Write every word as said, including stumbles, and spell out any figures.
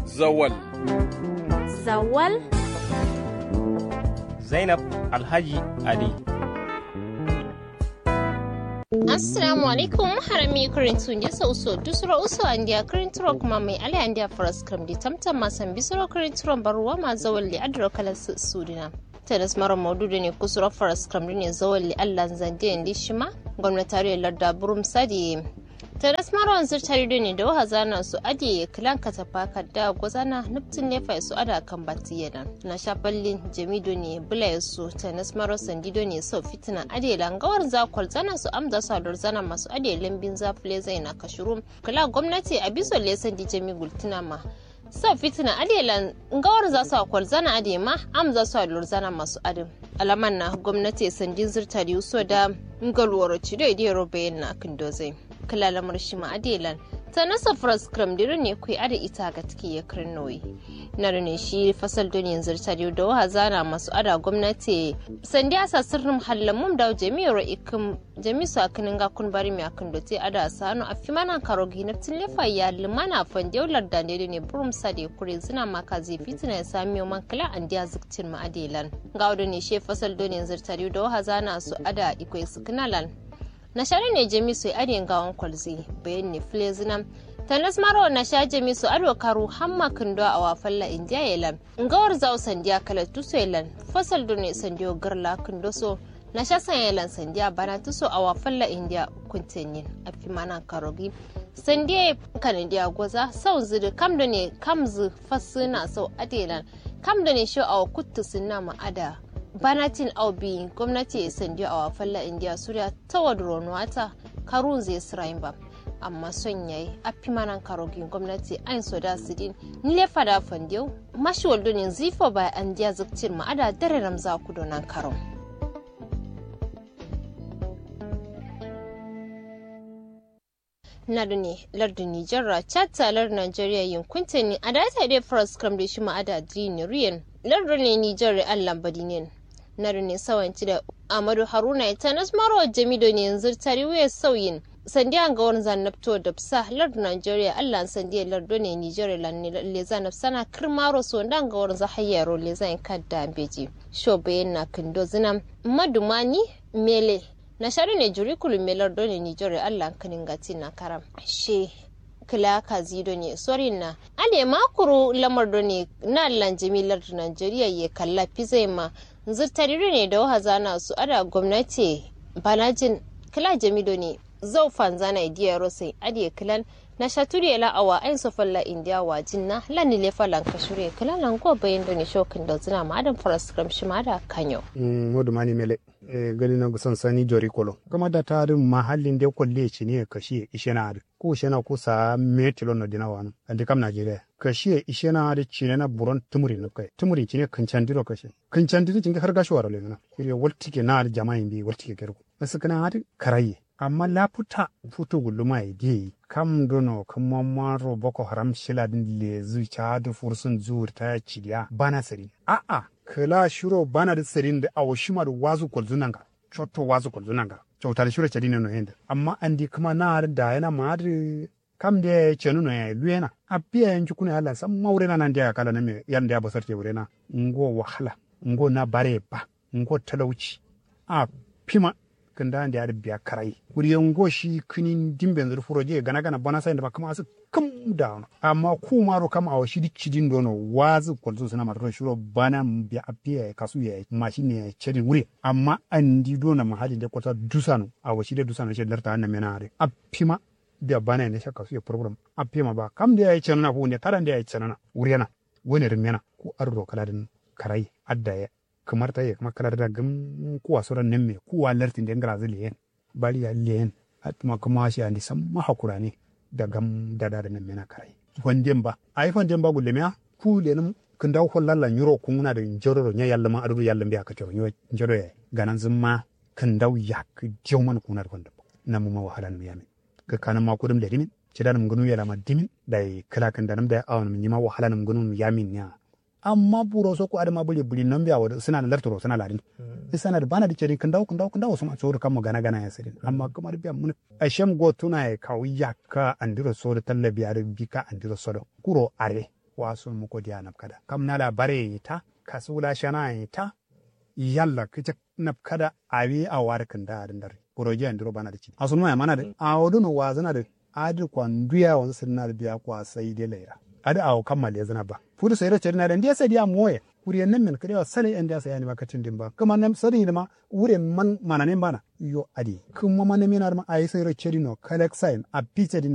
Zawal. Zawal. Zainab Alhaji Ali. Assalamu alaikum. Harami kirintu nde so uso dusuro uso andiya kirinturo kuma mai ale andiya faras kirim di tamtam ma sambi suro kirinturon barruwa ma zawal di adiro kala sudina. Tanas maro maudu done kusuro faras kirim done zawal di allan zande ndi shima gomnataro ye larda burum sadi. Tanas maro nzir tari done dawo hazana so adiye kilan katafa kadda gozana nuptin lefa so ada kambati yelan. Na shafallin jami done bula so tanas maro sandi done so fitina adiye lan gawar za kolzana so amza so ador zana maso adiye lambin za fule zaina kashurum. Kila gomnati abiso le sandi jami gultina ma. So fitina adiye lan ngawar za so akolzana adiye ma amza so ador zana maso adin. Alaman na gomnati sandi nzir tari so da ngal woro cido idiyero bayan na kindo zai. Kila lamar shima adiye lan. Tanas so faras kirim diro ne kui adi ita ga tiki ye kirin noyi. Na done shi fasal done nzir tari dawo hazana maso ada gomnati sandi asa sirnum hallamum dawo jami yero ikim. Jami so akinin ga kun bari mi akin dote ada sano afimana karo gi naftin lefa ya limana fande larda ne done burum sade kure zina ma kazi fitina ya sami man kila andiya ziktin ma adiye lan. Ngawo done she fasal done nzir tari dawo hazana so ada ikoi sukina lan. Na sha done jami so adiye ngawon kolzi bayan ne fule zina. Tanas maro na sha jami so ado karu hamma kindo awa falla indiya yelan. Ngawar zawo sandiya kala tuso yelan. Fasal done sandiyo garla kindo so. Na sha sanya yelan sandiya bana tuso awa falla indiya kuntenin afimana karogi. Sandiya kanadiya goza sau zidi kam done kam zi fasina sau adiye lan. Kam done sho awa kuttu sinna ma ada. Banatin au biyin gomnati sandiyo awa falla indiya suriya tawa duro nuwata. Karunzu ye sirayin ba. Amma son yayi affimanan karogin gomnati ayin so da sidin. Nile fada fandiyau. Mashiwal done nzifo ba andiya ziktin ma ada dare ramza kudo nan karon. Na done lardu nijar ra chatta lardu nigeria yin kuntenin ada ta dai faras kirim dai shima ada diri ne ruyen. Lardu ne nijar ra allan badinen. Na done sawanci da amadu haruna ya tanas maro jami done nzir tari wuye sauyin. Sandiya ngawar zan nafto dabsa lardu nigeria allan sandiya lardu ne nijar ra lan leza nafsana kirmaro so nda ngawar za hayyaro leza yin kadda beji. Sho bayan na kindo zina. Madumani mele. Na sha done juri kulumme lardu ne nijar ra allan kiningatin na karam. She kila kazi done sorin na. Ade ma kuru lamar done na allan jami lardu nigeria ye kalla fizai ma. Nzir tari done dawo hazana su ada gomnati. Banajin kila jami done zau fanzana idiya rosai adiye kilan. Na sha turiye la awa ayin so falla indiya wajin na lan nile fallan kashure kila lan go bayan done sho kindo zina ma adam faras kirim shima da kanyo. Modumani mele. Gani na gusan sani jori kolo kama da ta dun mahallin de kolle cine kashiye ishena adi. Ku shena ku sa me tilo no dina wani andi kam nigeria kashiye ishena adi cine na buron tumuri nubkai tumuri cine kincandi ro kashe. Kincandi ro cinge har gashi waro lengana. Kiriye waltike na adi jama'a indi waltike kerko. Nasu kina adi karaye. Amma lafuta futu guluma ye diye kam dono kuma maro boko haram shila din lezu chadu fursun zuwur ta cidiya bana sari. A'a. Kila shiro bana da sadin da awo shima da wazu kolzu nanga. Chotto wazu kolzu nanga. Chauta da shiro chadine no yende amma andi kuma na da yana ma da. Kam da ya chenu no ya luyena abiya ya njukuna ya lansa maurena nan da ya kala na me yan da ya basar te wurena. Ngo wahala. Ngo na bare ba. Ngo talauci. A fima. Kǝnda nde adǝ biya karayi kuriye ngo shi kǝni ndimbe nzǝ dǝ furoje gana gana bana sayin dǝ ma kǝma asǝ kǝm dawuno. Amma kumaro kam awo shi dǝ cidin dono wazǝ kolzǝ sǝna matǝro shiro bana biya afiya yayi kasu yayi mashin ne yayi cadin wure. Amma andi dono mahallin de kolsa dusano awo shi de dusano she larta namena adǝ. Affima biya bana ye nde sha kasu ye problem affima ba kam nde yayi canana fuwun de kada nde yayi canana. Wurena wane rǝmena ku adǝ ro kǝla dǝn karayi adda ye. Kǝmar taye kǝma kǝla dǝ da gǝm kuwa soro namme kuwa lartin de ngǝrazǝ leyen. Bari ya leyen. Atuma kǝma shi andi samma hakurane. Da gam dada dǝ namme na karai. Fanden ba ayi fanden ba gullemiya. Ku lenǝm kǝndawu fallalla nyiro kungǝna dǝ njodoro nya yallǝma adǝ dǝ yallǝm biya kacoro nyo njodo yayi. Gananzǝmma kǝndawu yakkǝ diyauman kungǝna dǝ fandǝm. Namuma wahala nǝm yamin. Kǝkkanǝmma kudǝm ledǝmin. Cidanǝm ngǝnum yelama dǝmin. Dayi kǝla kǝndanǝm dayi awonǝm nyima wahalanǝm ngǝnum yamin niya. Amma buro so ku adǝma bǝli bǝli nambiya wodǝ sǝna lartǝ ro sǝna ladin. Isana dǝ bana dǝ cedin kǝndawu kǝndawu kǝndawu suma sodǝ kammo gana gana ya sǝdin amma kǝma dǝ biya mǝnǝk. Ashem gotuna ye kawu yakka andiro sodǝ tallabiya dǝ bika andiro sodo kuro are. Wasun muko diya nabkada kam nala bare ye ta kasu wula shana ye ta. Yalla kǝcak nabkada awi awo adǝ kǝnda adǝ ndarri. Burojiya ndiro bana dǝ cidi asunma ya mana dǝ awo dǝ no wazǝna dǝ. Adǝ kwa nduya wanzǝ sǝdǝna dǝ biya kwa sai de laira. Adǝ awo kamma lezǝna ba fudu sairo cedina dǝ ndiya sadiya moye. Kuri ye nammen kǝdewa salai andiya sai anima kacindin ba kǝma nam sadǝ yidǝma. Wure man mananin bana yo adǝ ye kǝma ma namin adǝma ayi sairo cedino kalak sayin abbi cedin.